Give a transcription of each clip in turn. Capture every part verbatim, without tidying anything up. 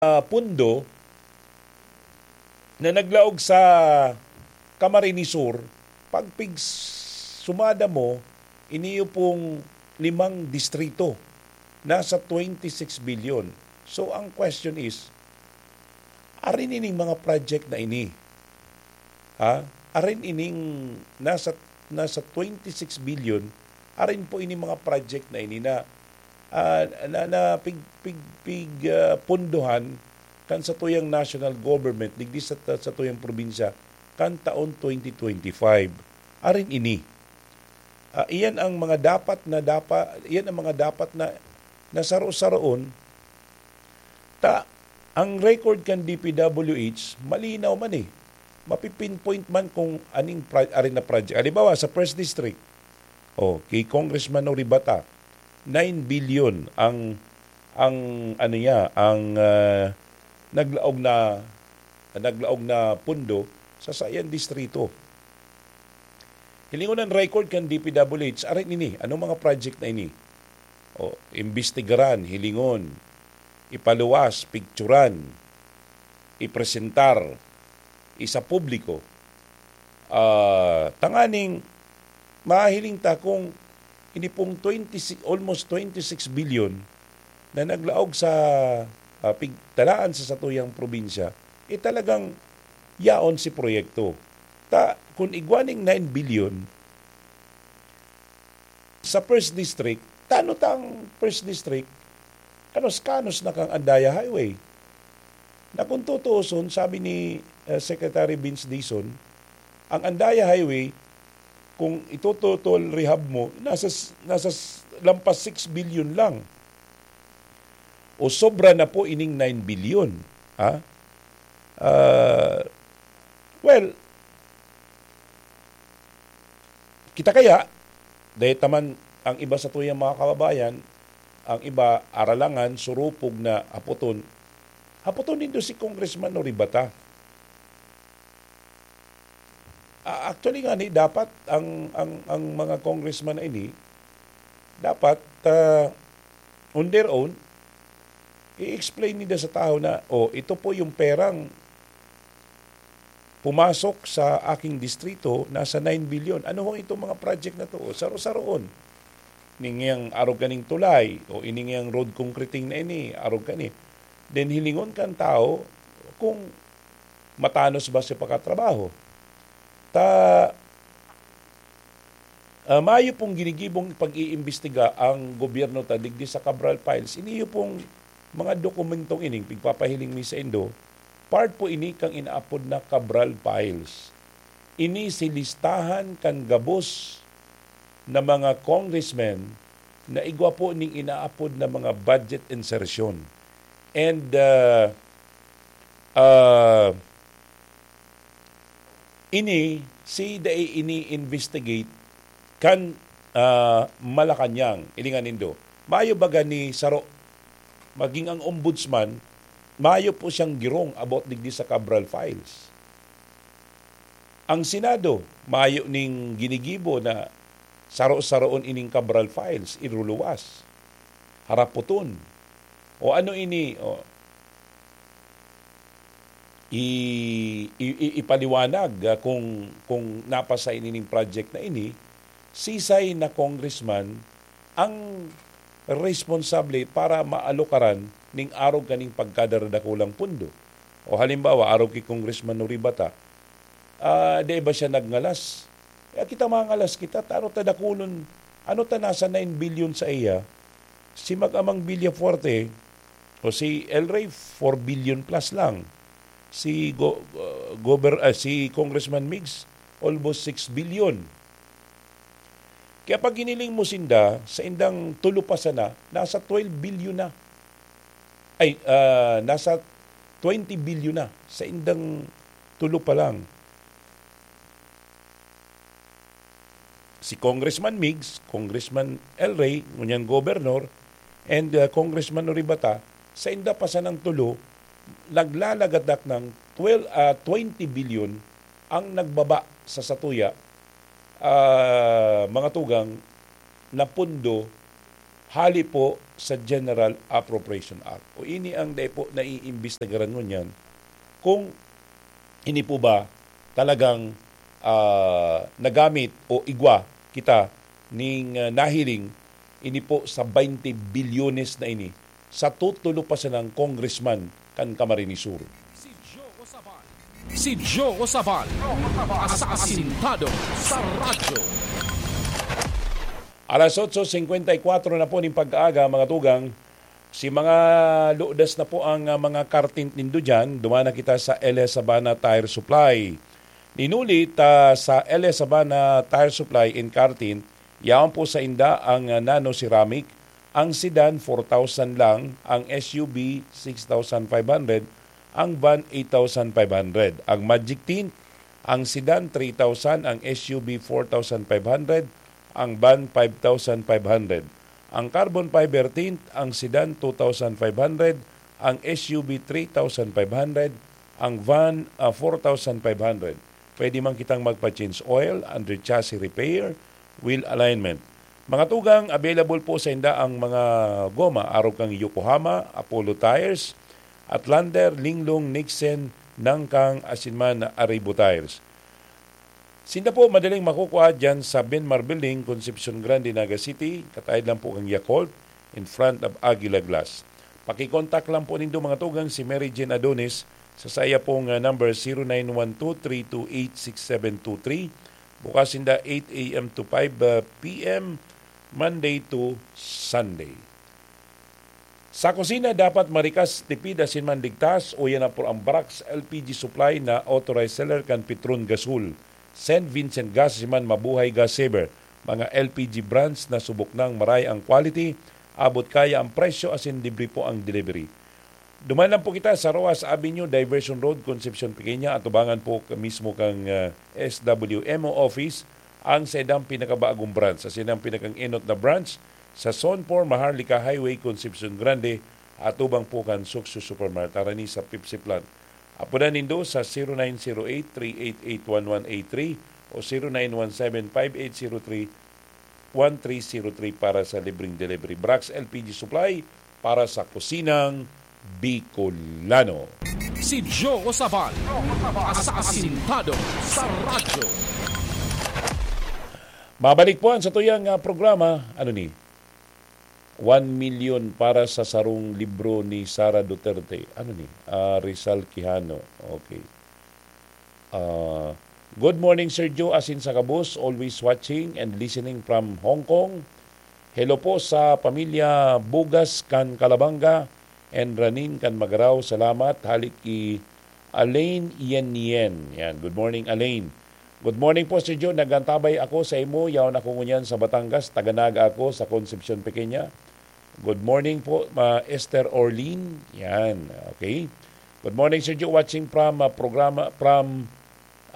ah, pundo na naglaog sa Camarines Sur, pag pig-, sumada mo, iniyo pong limang distrito, nasa twenty-six billion. So, ang question is, arin ining mga project na ini? Ha? Arin ining nasa, nasa twenty-six billion, arin po ini mga project na ini na, ah, na, na pig-, pig-, pig-, ah, pundohan kan satuyang national government, digdi sa, satuyang probinsya, kan taon twenty twenty-five. Arin ini. Ah, iyan ang mga dapat na dapa-, iyan ang mga dapat na, na saro-saroon. Ta, ang record kan D P W H, malinaw man eh. Mapi-pinpoint man kung aning pra-, arin na project. Halimbawa, sa First District, oh, kay Congressman Oribata, nine billion ang, ang, ano niya, ang, ah, naglaog na, naglaog na pundo sa sayan distrito. Hilingon ang record kan D P W H, arin ini, anong mga project na ini? O, imbestigaran, hilingon, ipaluwas, picturan, ipresentar, isa publiko. Ah, tanganing mahiling ta kung ini pong twenty-six, almost twenty-six billion na naglaog sa, ah, pigtalaan sa satuyang probinsya, eh, talagang yaon si proyekto. Ta, kung igwa ning nine billion, sa First District, tano tang First District, kanos-kanos na kang Andaya Highway. Na kung tutuuson, sabi ni, eh, Secretary Vince Dizon, ang Andaya Highway, kung ito-total rehab mo, nasa s-, nasa s-, lampas six billion lang. O sobra na po ining nine billion, ha? Ah, well, kita kaya, dahil taman ang iba satuyang mga kababayan, ang iba aralangan, surupog na hapoton, hapoton nindo si Congressman Oribata. Ah, actually nga ni, dapat ang, ang, ang mga congressman na ini, dapat, ah, on their own, i-explain nila sa tao na, "Oh, ito po yung perang pumasok sa aking distrito, nasa nine billion. Ano ho itong mga project na to?" O, saro-saroon. Ining yang arog kaning tulay, o ining yang road concreting na ini, arog kani. Then hilingon kan tao kung matanos ba siya pagkatrabaho. Ta, ah, mayo pong ginigibong pag-iimbestiga ang gobyerno ta digdi sa Cabral Files. Iniyo pong mga dokumentong ining pigpapahiling mi sa indo, part po ini kang inaapod na Cabral Files. Ini si listahan kan gabos na mga congressmen na igwa po ning inaapod na mga budget insertion. And, ah, ah, ini, si dai ini-investigate kan, ah, Malacañang, hilingan nindo. Mayo baga ni saro, maging ang ombudsman, mayo po siyang girong about digdi sa Cabral Files. Ang Senado, mayo ning ginigibo na saro-saroon ining Cabral Files, iruluwas, harapoton. O ano ini, o, i-, i-, i-, ipaliwanag, ah, kung, kung napasa ini ning project na ini, sisay na congressman ang responsable para maalokaran ning arog kaning pagkadara-dakulang pundo. O halimbawa, arog ki Congressman Nori Bata, ah, di ba siya nagngalas? Kaya kita mangalas kita, ta ano ta dakulon, ano ta nasa nine billion sa iya? Si Mag-amang Villafuerte o si El Rey, four billion plus lang. Si Go-, uh, Gober-, ah, si Congressman Migs, almost six billion. Kaya pag hiniling mo sinda, sa indang tulo pa sana, nasa twelve billion na. Ay, ah, nasa twenty billion na sa indang tulo pa lang. Si Congressman Migs, Congressman El Rey, ngunyan gobernador, and, ah, Congressman Oribata, sa inda pa sanang tulo, naglalagadak ng twelve, ah, twenty billion ang nagbaba sa satuya, ah, mga tugang na pundo hali po sa General Appropriation Act. O ini ang dai po naiimbestigaran ngunyan kung ini po ba talagang, ah, nagamit o igwa kita ning, ah, nahiling ini po sa twenty bilyones na ini sa tutulo pa sanang congressman kan Camarines Sur. Si Joe Osabal. Si Joe Osabal. Asasintado sa radyo. Alas otso singkwenta y kwatro na po ning pag-aaga, mga tugang. Si mga ludas na po ang, ah, mga kartint nindo dyan. Duman na kita sa L S Sabana Tire Supply. Ninuli ta sa L S Sabana Tire Supply in Kartint, yaon po sa inda ang, ah, nano ceramic, ang sedan four thousand lang, ang S U V six thousand five hundred, ang van eight thousand five hundred. Ang Magic Tint, ang sedan three thousand, ang S U V four thousand five hundred, ang van five thousand five hundred. Ang carbon fiber tint, ang sedan two thousand five hundred, ang S U V three thousand five hundred, ang van, ah, four thousand five hundred. Pwede man kitang magpa-change oil, under chassis repair, wheel alignment. Mga tugang, available po sa inda ang mga goma arog kan Yokohama, Apollo Tires, Outlander, Linglong, Nixon, Nangkang, asin man Arribo Tires. Sinda po madaling makukua diyan sa Benmar Building, Concepcion Grande, Naga City. Kataed lang po kan Yakult, in front of Aguila Glass. Pakikontak lang po nindo, mga tugang, si Mary Jane Adonis sa saya pong, ah, number, zero nine one two three two eight six seven two three. Bukas sinda eight a m to five p m, Monday to Sunday. Sa kusina, dapat marikas, tipid asin man ligtas, uya na po ang Brax L P G Supply na authorized seller kan Petron Gasol, Saint Vincent Gas asin man Mabuhay Gas Saver, mga L P G brands na subok nang maray ang quality, abot kaya ang presyo asin libre po ang delivery. Duman lang po kita sa Roas Avenue, Diversion Road, Concepcion Pequeña, atubangan po ka-, mismo kang, ah, S W M O office, ang saindang pinakabagong branch, sa saindang pinakang enot na branch, sa Zone four Maharlika Highway, Concepcion Grande, atubang po kan Suksyo Supermart, harani sa Pepsi Plant. Apodan nindo sa zero nine zero eight three eight eight one one eight three o zero nine one seven five eight zero three one three zero three para sa libreng delivery. Brax L P G Supply para sa kusinang Bicolano. Si Joe Sabal, asasintado sa radyo. Mabalik po ang satuyang, ah, programa. Ano ni? One million para sa sarong libro ni Sara Duterte. Ano ni? Ah, Rizal Quijano. Okay. Ah, good morning, Sir Joe, asin sa gabos, always watching and listening from Hong Kong. Hello po sa pamilya Bugas kan Calabanga and Ranin kan Magarao. Salamat. Halik ki Alain Yen Yen. Yan. Good morning, Alain. Good morning po, Sir Joe. Nagantabay ako sa imo. Yaon ako ngunyan sa Batangas. Taga Naga ako, sa Concepcion Pequeña. Good morning po, ma-, Esther Orlin. Yan. Okay. Good morning, Sir Joe. Watching from, ah, programa, from,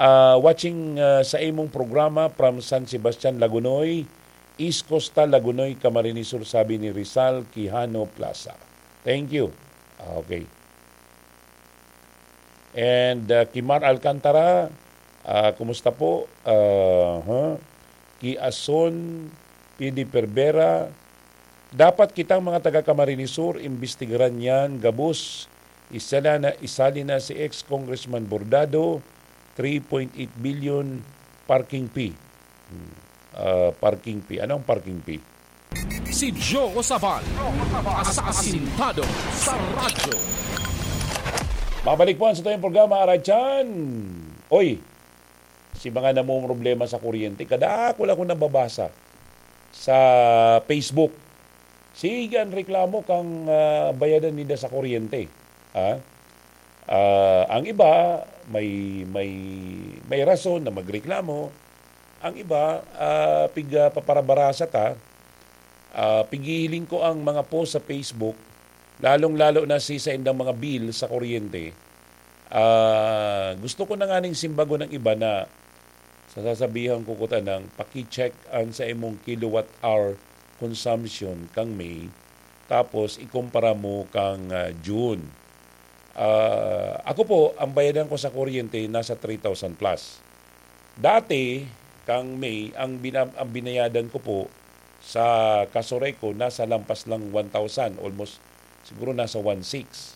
ah, watching, ah, sa imong programa from San Sebastian, Lagonoy, East Costa, Lagonoy, Camarines Sur, sabi ni Rizal Quijano Plaza. Thank you. Okay. And, ah, Kimar Alcantara, ah, kumusta po? Ah, ha? Ki Ason, P D Perbera, dapat kitang mga taga Camarines Sur, imbestigaran yan, gabos, isali na, isali na si ex-Congressman Bordado, three point eight billion parking fee. Hmm. Ah, parking fee. Ano ang parking fee? Si Joe Sabal, asasintado sa radyo. Mabalik po ang satuyang programa, Aray Chan. Oy, si mga namumroblema sa kuryente, kadakul ako nababasa sa Facebook. Sige an reklamo kan, ah, bayadan ninda sa kuryente. Ha? Ah, ang iba may, may, may rason na magreklamo. Ang iba, ah, pig-, ah, paparabarasa ta. Ah, pighihiling ko ang mga post sa Facebook, lalong-lalo na si saindang mga bill sa kuryente. Ah, gusto ko na nganing simbagon ang iba na sasabihan ko kuta ng paki-check an sa imong kilowatt hour consumption kang May, tapos ikumpara mo kang, ah, June. Ah, ako po, ang bayadan ko sa kuryente nasa three thousand plus. Dati, kang May, ang bina-, ang binayadan ko po Sa Casureco, nasa lampas lang one thousand, almost siguro nasa one six.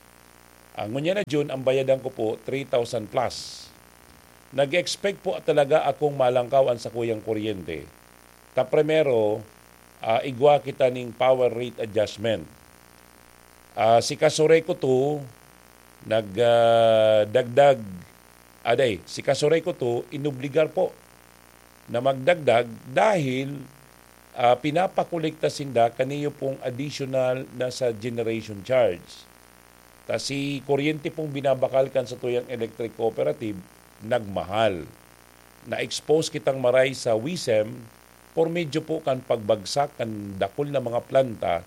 Ah, ngunyan na June, ang bayadan ko po, three thousand plus. Nag-expect po talaga akong malangkaw an sakuyang kuryente. Ta primero, ah, igwa kita ning power rate adjustment. Ah, si Casureco two, nag, ah, dagdag, aday, si Casureco two, inobligar po na magdagdag dahil, ah, pinapakolekta sinda kaniyo pong additional na sa generation charge. Ta si kuryente pong binabakal kan satuyang electric cooperative, nagmahal. Na-expose kitang maray sa WISM por medyo po kan pagbagsak kan dakul na mga planta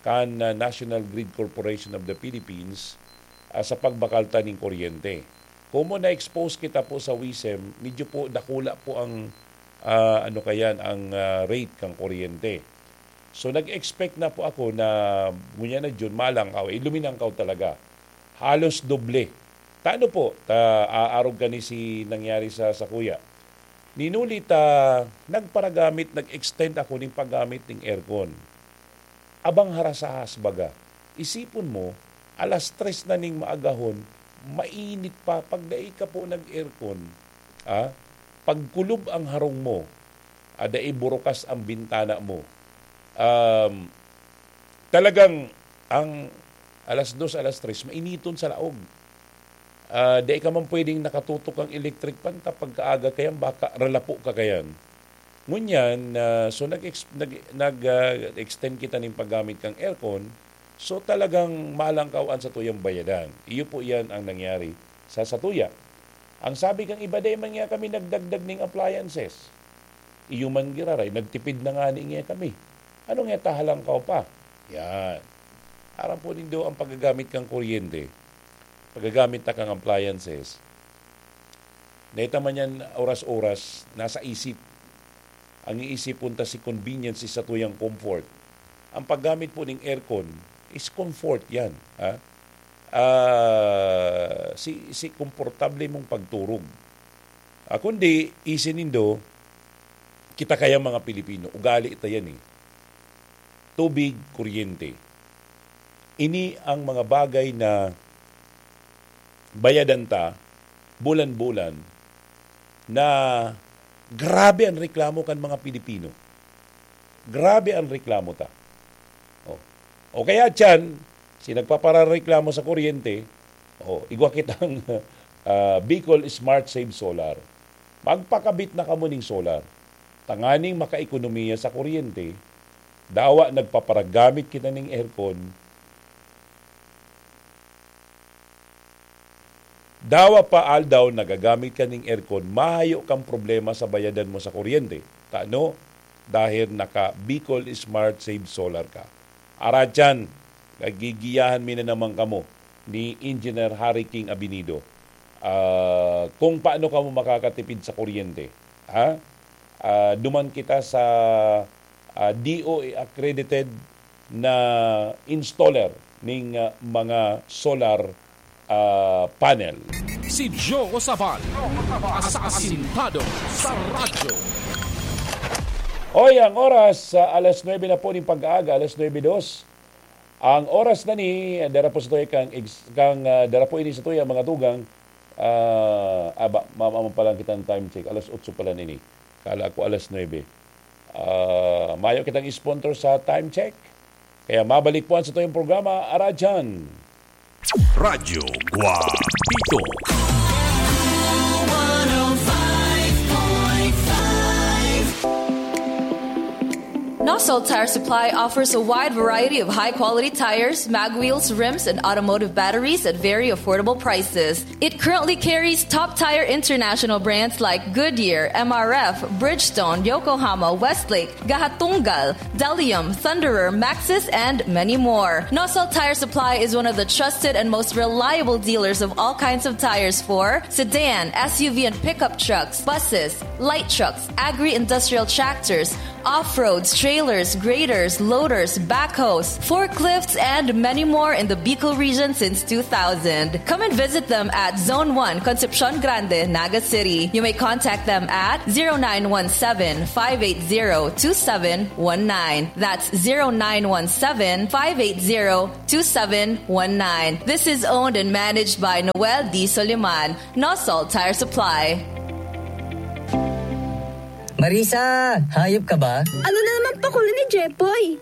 kan, ah, National Grid Corporation of the Philippines, ah, sa pagbakal ta ning kuryente. Komo na-expose kita po sa WISM, medyo po dakula po ang, ah, ano kayan, ang, ah, rate kan kuryente. So, nag-expect na po ako na ngunyan na June, malangkaw. Eh, luminangkaw talaga. Halos doble. Tano po, ta, aarog kani si nangyari sa sakuya. Ninuli ta, nagparagamit, nag-extend ako ning paggamit ning aircon. Abang harasahas baga. Isipon mo, alas tres na ning maagahon, mainit pa. Pag dai ka po nag-aircon, ah, pagkulob ang harong mo, ah, dai burukas ang bintana mo. Um, talagang ang alas dos, alas tres, mainiton sa laog. Ah, dai ka man pwedeng nakatutok ang electric fan ta pagkaaga kayan, baka ralapo ka kayan. Ngunyan, ah, so nag-ex-, nag-, nag, ah, extend kita ning paggamit kang aircon, so talagang malangkaw an satuyang bayadan. Iyo po iyan ang nangyari sa satuya. Ang sabi kang iba, "Dai man nga kami nagdagdag ning appliances." Iyo man giraray, nagtipid na ngani nga kami. Ano nga ta halangkaw pa? Yan. Aram po nindo ang paggagamit kang kuryente, paggagamit ta kang appliances. Naita man yan oras-oras, nasa isip. Ang iisipon ta si convenience, si satuyang comfort. Ang paggamit po ning aircon is comfort yan, ha? Ah, si, si komportable mong pagturog. Ah, kundi, isin nindo, kita kaya mga Pilipino, ugali ta yan eh. Tubig, kuryente. Ini ang mga bagay na bayadan ta bulan-bulan na grabe ang reklamo kan mga Pilipino. Grabe ang reklamo ta. Oh. O kaya tiyan, si nagpaparareklamo sa kuryente, oh, igwa kitang, ah, Bicol Smart Save Solar. Magpakabit na kamo ning solar. Tanganing makaekonomiya sa kuryente, dawa nagpaparagamit kita ning aircon, dawa pa aldaw nagagamit ka ning aircon, mayo kang problema sa bayadan mo sa kuryente. Tano? Dahil naka Bicol Smart Save Solar ka. Aratyan, nagigiyahan mi na naman kamo ni Engineer Harry King Abinido. Ah, kung paano kamo makakatipid sa kuryente. Ha? Ah, duman kita sa, ah, D O A accredited na installer ning, ah, mga solar, ah, panel. Si Joe Sabal, asasintado sa radyo. Oy, ang oras sa alas nuebe na po ning pag-aaga, alas nuebe dos. Ang oras na ni, dara po sa tuya kang ex-, kang, ah, dara po ini sa tuya, mga tugang, ah, aba, mama mo pa lang kitang time check. Alas otso pa lang ini. Kala ko alas nuebe. Ah, mayo kitang sponsor sa time check. Kaya mabalik po ang sa tuyong programa, Aradyan. Radyo Guapito. Nosal Tire Supply offers a wide variety of high-quality tires, mag wheels, rims, and automotive batteries at very affordable prices. It currently carries top tire international brands like Goodyear, M R F, Bridgestone, Yokohama, Westlake, Gahatungal, Delium, Thunderer, Maxxis, and many more. Nosal Tire Supply is one of the trusted and most reliable dealers of all kinds of tires for sedan, S U V, and pickup trucks, buses, light trucks, agri-industrial tractors, Off-roads, trailers, graders, loaders, backhoes, forklifts, and many more in the Bicol region since two thousand. Come and visit them at Zone one, Concepcion Grande, Naga City. You may contact them at zero nine one seven, five eight zero, two seven one nine. That's zero nine one seven, five eight zero, two seven one nine. This is owned and managed by Noel D. Soliman, Nosol Tire Supply. Marisa, hayop ka ba? Ano na naman pakuli ni Jepoy?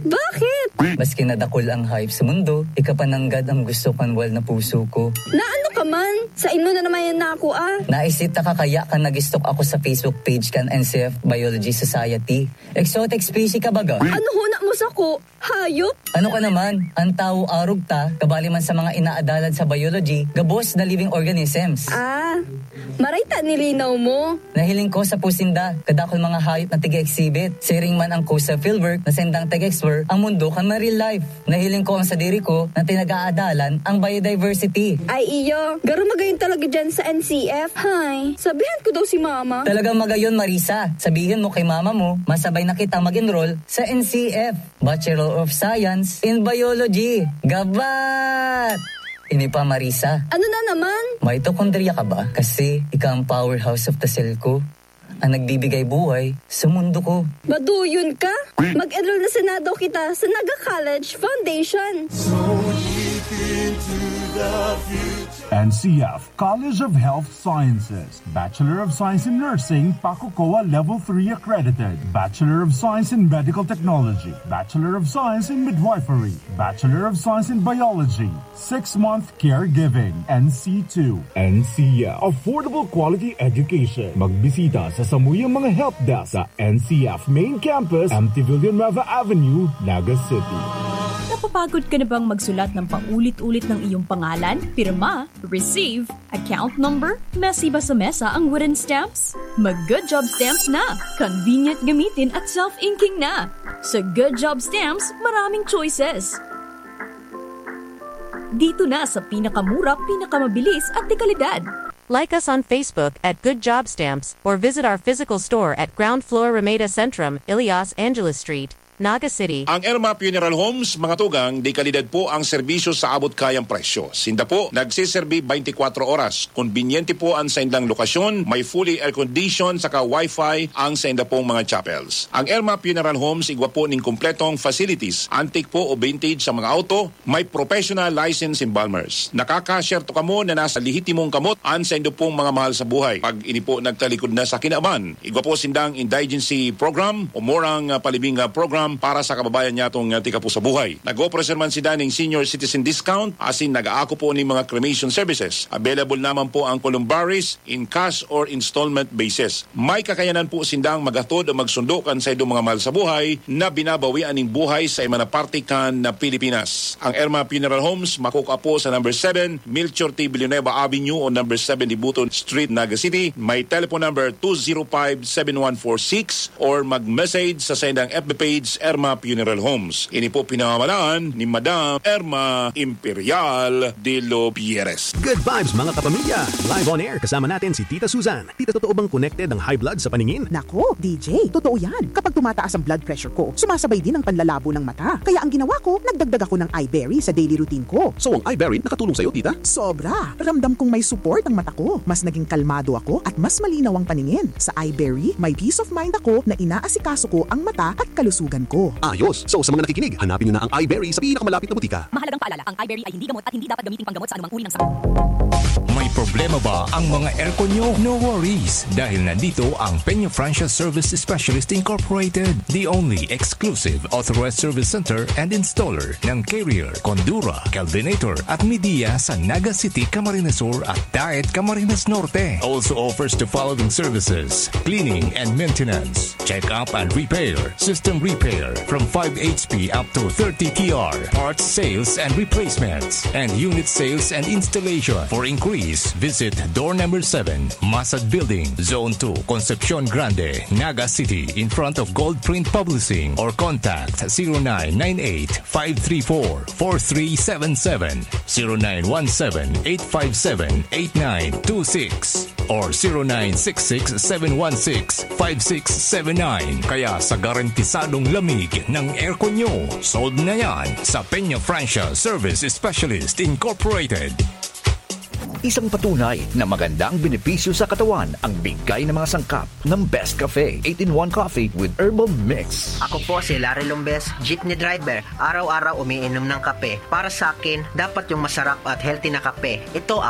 Bakit? Maski na dakul ang hayop sa mundo, ika pa nanggad ang gusto kan wal na puso ko. Na ano ka man? Sa imo na naman yan na ako ah. Naisita ka kaya ka nag-stalk ako sa Facebook page kan N C F Biology Society. Exotic species ka baga? Ano huna mo sa ko? Hayop? Ano ka naman? Ang tawo arog ta, kabali man sa mga inaadalan sa biology, gabos na living organisms. Ah, maray ta nilinaw mo. Nahiling ko sa pusinda, kadakol mga hayop na tiga-exhibit. Siring man ang coastal fieldwork na sendang tag-explore ang mundo kan marine life. Nahiling ko ang sadiri ko na tinag-aadalan ang biodiversity. Ay iyo, garo magayon talaga dyan sa N C F. Hay, sabihan ko daw si mama. Talagang magayon, Marisa. Sabihin mo kay mama mo, masabay na kita mag-enroll sa N C F, Bachelor of Science in Biology. Gabat! Ini pa, Marisa. Ano na naman? Mitochondria ka ba? Kasi ika ang powerhouse of the cell ko. Ang nagbibigay buhay sa mundo ko. Maduyon ka? Mag-enroll na sana daw kita sa Naga College Foundation. N C F College of Health Sciences, Bachelor of Science in Nursing, PACOCOA Level three accredited, Bachelor of Science in Medical Technology, Bachelor of Science in Midwifery, Bachelor of Science in Biology, six-month caregiving, N C two. N C F, affordable quality education. Magbisita sa samuyang mga help desk sa N C F Main Campus, M T Villanueva Avenue, Naga City. Napapagod ka na bang magsulat ng paulit-ulit ng iyong pangalan, pirma, receive, account number, mesiba sa mesa ang wooden stamps? Mag Good Job Stamps na! Convenient gamitin at self-inking na! Sa Good Job Stamps, maraming choices. Dito na sa pinakamura, pinakamabilis at dekalidad. Like us on Facebook at Good Job Stamps or visit our physical store at ground floor Ramada Centrum, Ilias Angeles Street, Naga City. Ang Erma Funeral Homes, mga tugang, dekalidad po ang serbisyo sa abot kayang presyo. Sinda po nagseserbi twenty-four oras. Kombinyente po ang saindang lokasyon, may fully air-conditioned saka wifi ang sainda pong mga chapels. Ang Erma Funeral Homes igwa po ning kompletong facilities, antique po o vintage sa mga auto, may professional license embalmers. Nakaka-share to kamo na nasa lehitimong kamot an saindo pong mga mahal sa buhay. Pag ini po nagtalikod na sa kinaban, igwa po sindang indigency program o murang ah, palibing ah, program para sa kababayan niya tong ah, tika po sa buhay. Nag-offer man sila ning senior citizen discount asin nag-aako po ning mga cremation services. Available naman po ang columbaries in cash or installment basis. May kakayanan po sindang maghatod o magsundo kan saindong mga mahal sa buhay na binabawian ning buhay sa iba na parte kan na Pilipinas. Ang Erma Funeral Homes makukua po sa number seven Melchor T. Villanueva Avenue o number seven Dibuton Street, Naga City. May telephone number two zero five seven one four six or mag-message sa saindang F B page, Erma Funeral Homes. Ini po pinamamalaan ni Madam Erma Imperial de los Pierres. Good vibes, mga kapamilya! Live on air kasama natin si Tita Susan. Tita, totoo bang connected ang high blood sa paningin? Nako, D J, totoo yan. Kapag tumataas ang blood pressure ko, sumasabay din ang panlalabo ng mata. Kaya ang ginawa ko, nagdagdag ako ng Iberry sa daily routine ko. So ang Iberry nakatulong sa'yo, Tita? Sobra! Ramdam kong may support ang mata ko. Mas naging kalmado ako at mas malinaw ang paningin. Sa Iberry, may peace of mind ako na inaasikaso ko ang mata at kalusugan ko. Ayos! So sa mga nakikinig, hanapin nyo na ang Iberry sa pinakamalapit na butika. Mahalagang paalala, ang Iberry ay hindi gamot at hindi dapat gamiting panggamot sa anumang uri ng sakit. May problema ba ang mga aircon nyo? No worries, dahil nandito ang Peña Franchise Service Specialist Incorporated, the only exclusive authorized service center and installer ng Carrier, Condura, Kelvinator at Midea sa Naga City, Camarines Sur at Daet, Camarines Norte. Also offers the following services: cleaning and maintenance, check-up and repair, system repair, from five H P up to thirty T R, parts sales and replacements, and unit sales and installation. For inquiries, visit door number seven, Masad Building, Zone two, Concepcion Grande, Naga City, in front of Gold Print Publishing, or contact zero nine nine eight five three four four three seven seven, zero nine one seven eight five seven eight nine two six, or zero nine six six seven one six five six seven nine. Kaya sa garantisadong lamig ng aircon nyo, sold na yan sa Peña Francia Service Specialist Incorporated. Isang patunay na magandang benepisyo sa katawan ang bigay ng mga sangkap ng Best Cafe eight-in-one Coffee with Herbal Mix. Ako po si Larry Lombes, jeepney driver. Araw-araw umiinom ng kape. Para sa akin, dapat yung masarap at healthy na kape. Ito